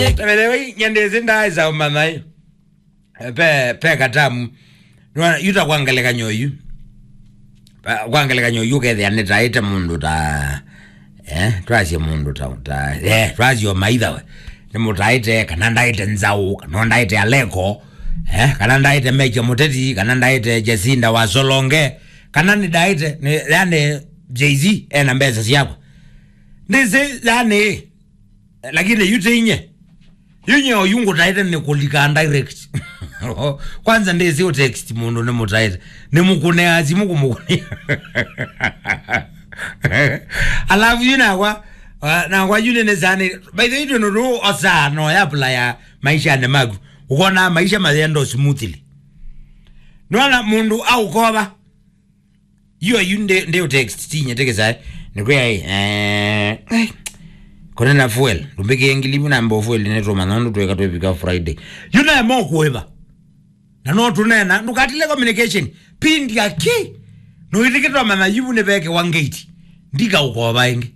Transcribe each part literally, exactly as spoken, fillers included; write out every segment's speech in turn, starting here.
By the way, nyendezi ndaisa umanya yu. Pe, pe katamu. Nwa, yu ta kwa ngelekany'o yu. Pa, kwa ngelekany'o yu ũkethĩa nĩtaĩte mũndũ ta, eh, twasye mũndũ ta, ta, eh, twasye o maitha we. Nĩmũtaĩte, kana ndaĩte Nzaũ, kana ndaĩte Aleko, eh, kana ndaĩte Meja Mũteti, kana ndaĩte Jacinda wa Solonge, kana nĩndaĩte, nĩ, yani, Jay-Z ena mbesa syakwa. Ndĩsĩ, yani, lakini yu ti inye. Yu nye oyu ngũtaĩte nĩ kũlika direct. Kwanza ndĩsĩ ũ text mũndũ nĩmũtaĩte. Nĩmũkũnea simu kũmũkũnĩa. Alafu yu nakwa, ah, nakwa yu nĩnĩsani. By the way, yu nũndũ osaa no ya apply ya maisha nĩ maku. Ũkona maisha mayendo smoothly. Nona mũndũ aũkova. Yu ayu ndi, ndi text tinye tekesa. Nikwia, eh, eh, kone na fuel. Ndumbike ngili muna mbo fuel ne tuma nondo tweka twivika Friday. Yu na mo kuiva. Na no tunena, ndukatile communication. Pindi aki. No itikitwa mana yu ne beke wa gate. Ndika ukoba ingi.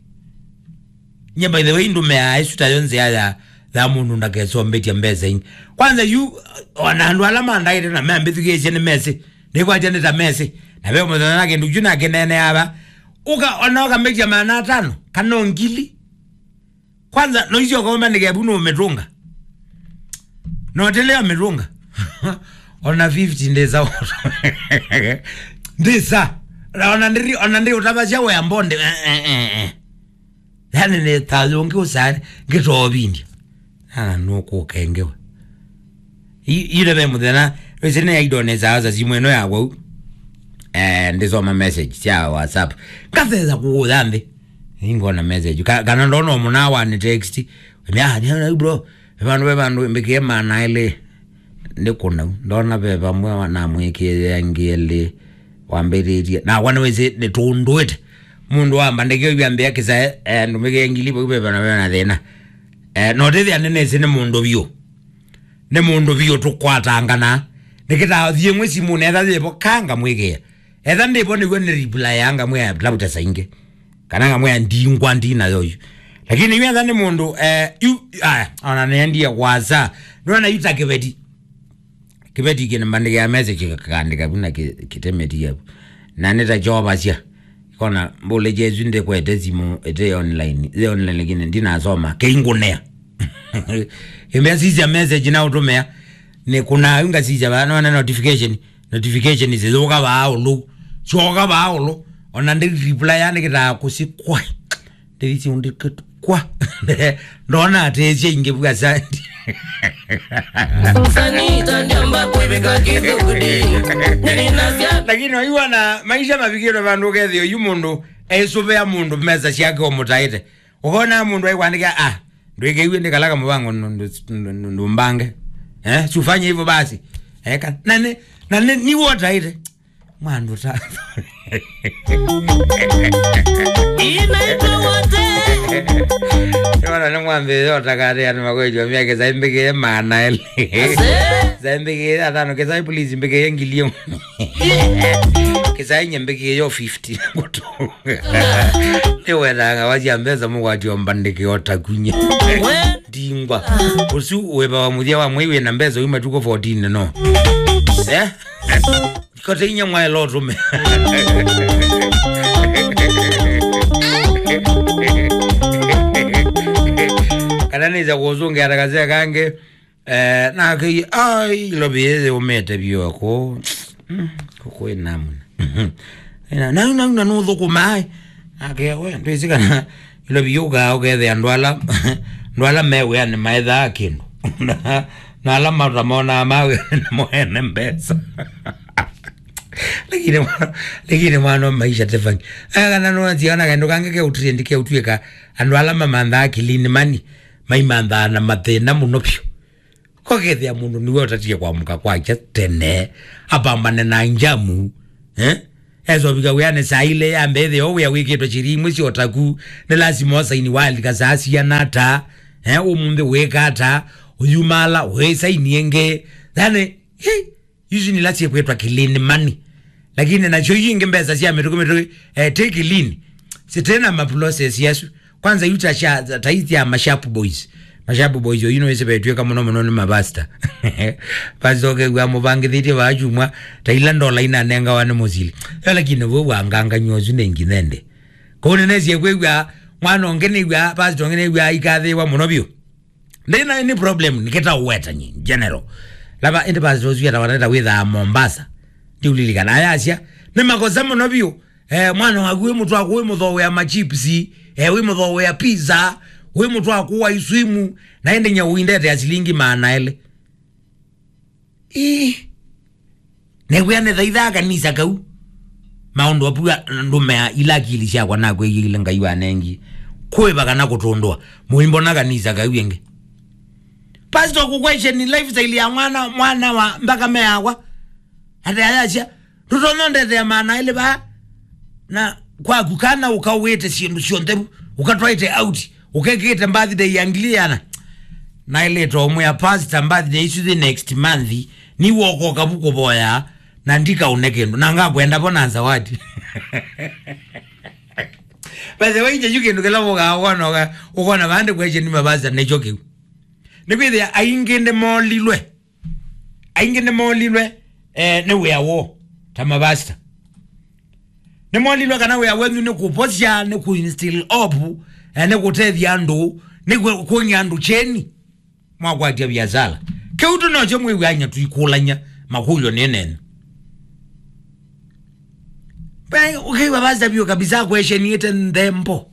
Nye, by the way, ndume ya isu ta yonze ya, ya, ya mundu ndakesombetia mbesa ingi. Kwanza yu, ona andu ala mandaire na mambithukiisye ni mesi. Nĩkwatya nĩ ta mesi. Na ve mũthenya na kĩndũ kyu nake nene ava. Ũka, ona ũkamĩtya maana atano, kana o ngili. Kwanza, no icio ũkomba nĩ kevu nũmĩtũnga. No tĩlĩ amĩtũnga. Ona fifty ndĩsa. Ndĩsa. Na ona ndĩri, ona ndĩ ũtavasya wea mbonde. Eh, eh, eh, eh. Yani nĩ ta yũngĩ ũsani, ngĩtovindia. Na nũkũkengewa. I-, ile ve mũthenya, wĩsĩ nĩ aidonesa asa simu ĩno yakwa u. Eh, ndĩsoma message sya WhatsApp. Ngathesa kũũya nthĩ. Ingona message. Ka-, kana ndona mũna wa ni text. Mya, ni na bro. Ve vandũ, ve vandũ, mbĩkĩe maana elĩ. Nĩ kũnau. Ndona ve vamwe wa-, namwĩkĩe angĩ elĩ. Wambĩrĩrie. Na wana wĩsĩ nĩ tũndũĩte. Mũndũ wamba ndĩkĩo ivyambĩa kĩsae, eh, ndũmĩkĩe ngili vau ve vana ve na thĩna. Eh, no tĩthĩa nĩnĩsĩ nĩ mũndũ vyũ. Nĩ mũndũ vyũ tũkwatangana. Nĩkĩtaa thiĩ mwĩ simũ netha yĩvo ka ngamwĩkĩa. Etha ndĩvo nĩw'o nĩ reply ya ngamwĩa labda saingĩ. Kana ngamwĩa ndingwa ndina yoyu. Lakini yu etha nĩ mũndũ, eh, yu, aya, ona nĩendie kwasa. Nĩwona yu ta kĩveti. Kĩveti kĩnĩmbandĩkĩa message kĩkandĩka vu na kĩ-, kĩtemeti yavu. Na nĩta kyovasya. Kona mbũle Jesu ndĩkwete simũ ĩte online. Ĩte online lakini ndinasoma. Kĩingũnea. Ĩmbĩa sisya message na ũtũmĩa. Nĩ kuna yu ngasisya va nona notification. Notification zĩthũka vaa ũlũ. Syoka vaa ũlũ. Ona ndĩ reply yani kĩtaa kũsikwa. Ndĩthi siundĩkĩtwa. Kwa. Ndona atĩĩsya ingĩ vu asandi. Sani tandiamba kwĩvĩka kĩthukudi. Nĩninasya. Lakini waiwa na maisha mavikĩtwe vandũ ũkethĩa yu mũndũ esũvĩa mũndũ mesa syake ũmũtaĩte. Ũkona mũndũ aikwandĩkĩa, ah, ndwĩkĩiw'e ndĩkalaga mũvango ndũmbange. Eh, sifanye hivyo basi. Eka. Na nĩ, na nĩ, nĩ wotaĩte. Mwandu ta. Inaitwa wote. Yona nĩ mwambĩĩo takatĩ anĩ makwĩtyo mya kĩsaĩ mbĩkĩe maana elĩ. Ase. Kĩsaĩ mbĩkĩe atano, kĩsaĩ please mbĩkĩe ngili ĩmwe. Kĩsaĩ nye mbĩkĩe yo fifty. Nĩwetanga wasya mbesa mũkwatio mbandĩkĩo takunye. We. Ndingwa. Ũsu wĩva wa mũthya wa mwei wĩna mbesa yu matukũ fourteen no. Eh? Kote inya mwaela ũtũme. Kana nĩsa kũsũngĩa ta kasea kangĩ, eh, nake, ai, ilovi yĩyĩ ũmĩte vyũ kũ. Mm, kũkwĩ namna. Ĩna, nau, nau, na nũthũkũma, ai. Nake, we, ndwĩsĩ kana ilovi yũkaa ũkethĩa andũ ala, andũ ala me wĩanĩ maethaa kĩndũ. Na, na ala matamonaa ma wĩanĩ nĩmo ene mbesa. Lakini mwa-, lakini mwana wa maisha tefangi. Aya kana nũnationa kaĩndũ kangĩ keũtrendi keũtw'ĩka andũ ala mamanthaa clean money, maimanthaa na mathĩna mũno vyũ. Kokethĩa mũndũ nĩwe ũtatie kwamũka kwakya tene, apambane na njamu, eh? Esovika wĩanĩ saa ilĩ ya mbee thĩ, o wĩa wĩkĩtwe chiri imwe syotaku, nĩ lasima ũsaini walika saa siana ata, eh? Ũmũnthĩ wĩka ata, ũyumala, wĩsaini ĩngĩ. Yani, hi, isu nila syekwĩtwa clean money. Lakini nasyo yu ingĩ mbesa sya mĩtũkĩ mĩtũkĩ, eh, ti clean. Sitena ma process yasu. Kwanza yu ta sya, ta isi ya ma sharp boys. Mashabu boys oyu nĩwĩsĩ vetw'ĩka mũno mũno nĩ mavasta. Pastor ũkew'a mũvangĩthĩtye vaa kyumwa, ta ila ndola inanengawa nĩ mũsili. Yo lakini vau wangangany'a ũsu nĩ nginya ĩndĩ? Kũu nĩnesie kwĩw'a mwana ũngĩ nĩw'a, pastor ũngĩ nĩw'a ikathĩĩwa mũno vyũ. Ndĩna any problem, nĩkĩta ũwetani, general. Lava, ĩndĩ pastor ũsu etawaneta wĩthaa Mombasa. Ndiulilikana, ayasya, nĩ makosa mũno vyũ. Eh, mwana waku wĩ mũtwaku wĩ mũthowea machips, eh, wĩ mũthowea pizza, wĩ mũtwaku wa isuimu, na ĩndĩ nyau indete ya silingi maana elĩ. Ii. Newĩa nĩ thaithaa kanisa kau. Maũndũ apua ndũmea ila akili syakwa nakwĩyĩile Ngai wanengi. Kũĩva kana kũtũndũa. Mũimbona kanisa kau ĩngĩ. Pastor kũkwesheni lifestyle ya mwana, mwana wa mpaka meakwa. Ate ayasya, ndũtonya ndetea maana elĩ vaa, na kwaku kana ũkauĩte syĩndũ syonthe vu, ũkatwaĩte out, ũkekĩte birthday ya ngili yana. Naĩlĩte ũmwĩa pastor, birthday isu the next month, niwokoka vu kũvoya, na ndikaũne kĩndũ, na ngakwenda vo na zawadi. By the way, kyu kĩndũ kĩla ũkaa ũkona, ũka-, ũkona vandũ kweshe nĩ mavasa nĩkyo kĩu. Nĩkwĩthĩa aingĩ nĩmolilwe. Aingĩ nĩmolilwe, eh, nĩ wĩa woo, ta mavasta. Nĩmolilwe kana wĩa wenyu nĩ kũvosya, nĩ kũinstill hope, eh, nĩ kũtethya andũ, nĩ kwĩ-, kwony'a andũ kyeni. Mwakwatya viasala. Kĩu tu nokyo mwĩw'anya tũikũlany'a makũlyo nĩ nenyu. Ve, ũkĩw'a vasta vyũ kabisa akwesheniĩte nthembo.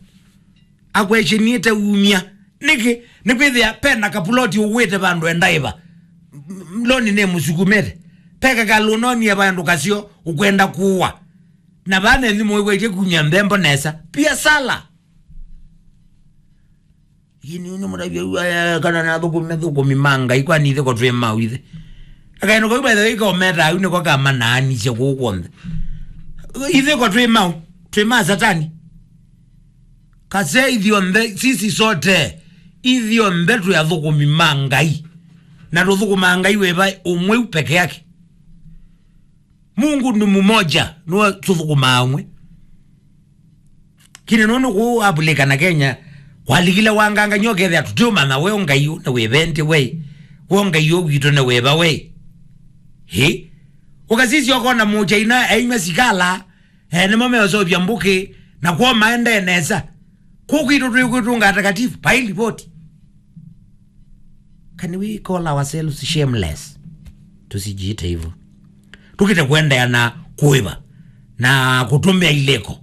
Akwesheniĩte umya. Nĩkĩ? Nĩkwĩthĩa pena kapuloti ũwĩte vandũ endaĩva. M-, loni nĩ mũsukumĩte. Peka kalũnonie vandũ kasyo ũkwenda kũwa. Na vana ĩnyu mũĩw'ĩtye kumya nthembo nesa. Pia sala. Ini nĩ mũtavya ua kana na thũkũmi, thũkũmi ma Ngai, kwani ithe ko twĩ mau ithe. Akaeno kau by the way kaometa au nĩko kamanaanisye kũu kw'onthe. Ithe ko twĩ mau, twĩ ma Satani. Kase ithyonthe, sisi sote, ithyonthe twĩ athũkũmi ma Ngai. Na tũthũkũmaa Ngai wĩva ũmwe u peke yake. Mungu ni mmoja, nĩwe tũthũkũmaa ũmwe. Kine nũndũ kũu Afrika na Kenya, kwalikile wangangany'a ũkethĩa tũtiũmanya we Ngai ũ nĩ wĩva ĩndĩ we. We Ngai ũ witũ nĩ wĩva we. Ĩ? Ũkasisya ũkona mũchaina ainywa sikala, eh, nĩmo meũseũvya mbũkĩ, na kwoo maendee nesa. Kũu kwitũ twĩ kwĩtũnga atakatifu, vai livoti. Can we call ourselves shameless? Tusijiite hivyo. Tukite kuendeea na kuiva na kutumia ileko.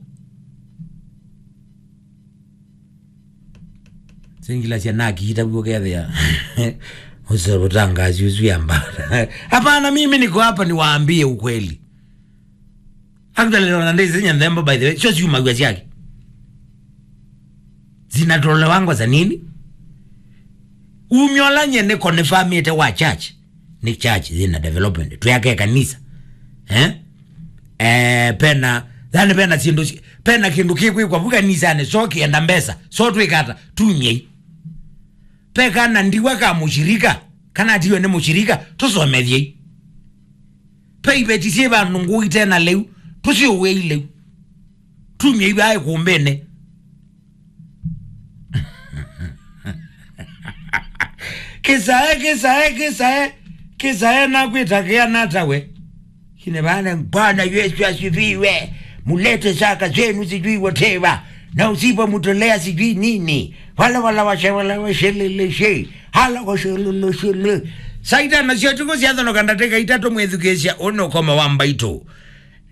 Singila sia na kiita buo kethia. Usibutangazi usu ya mbara. Hapana, mimi niko hapa niwaambie ukweli. Actually, na ndĩsĩ nyie nthembo, by the way, syo syumaw'a syake. Zinatolewangwa za nini? Umya ũla nyie nĩ confirmĩte wa church, nĩ church yĩna development. Twĩake kanisa. Eh? Eh, pena, yani pena syĩndũ si-, pena kĩndũ kĩkwĩkwa vu kanisanĩ, so kĩenda mbesa, so twĩkata, tumyei. Pe kana ndiwa ka mũshirika, kana atiwe nĩ mũshirika, tũsomethyei. Pe iveti syĩ vandũ ngũi tena lĩu, tũsiũw'ei lĩu. Tumyei vaa ĩkũmbĩnĩ. Kĩsae, kĩsae, kĩsae, kĩsae nakwĩta kĩa natawe. Kine vane, Bwana Yesu asifiwe. Mulete zaka zenu sijui whatever. Na usipomtolea sijui nini. Wala, wala, washe, wala, washeleleshe. Hala, washeleleshele. Saa itano sya ũtukũ syathonoka ndatĩka itatũ mwĩthukĩĩsya ũnĩ ũkomo wa mbaitũ.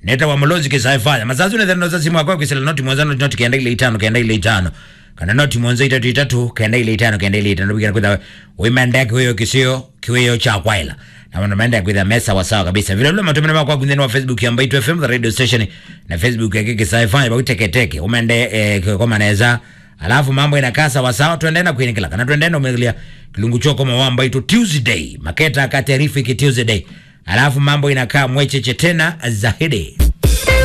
Neta wa Mũlũnzi kĩsae faya. Masasu nethenosa simu akwa kwĩsĩla noti mũonza noti noti kenda ile itano kenda ile itano. Kana noti mũonza itatũ itatũ kenda ile itano kenda ile itano. Bikira kwĩtha wĩmendea kĩwĩo kĩseo. Kĩwĩo kya kwaĩla. Na maũndũ maendee kwĩthĩa me sawa sawa kabisa. Vile vile matũmĩne makwa nthĩnĩ wa Facebook ya Mbaitũ F M, the radio station, na Facebook ya Kĩkĩsa F M, vau teketeke. Ũmende, eh, koma nesa. Alafu mambo inakaa sawa sawa, tuendee na kwĩnĩkĩla, kana tuendee na ũmĩthĩlya kĩlungu kya ũkomo wa Mbaitũ Tuesday. Maketa ka terrific Tuesday. Alafu mambo inakaa mwecheche tena zaidi.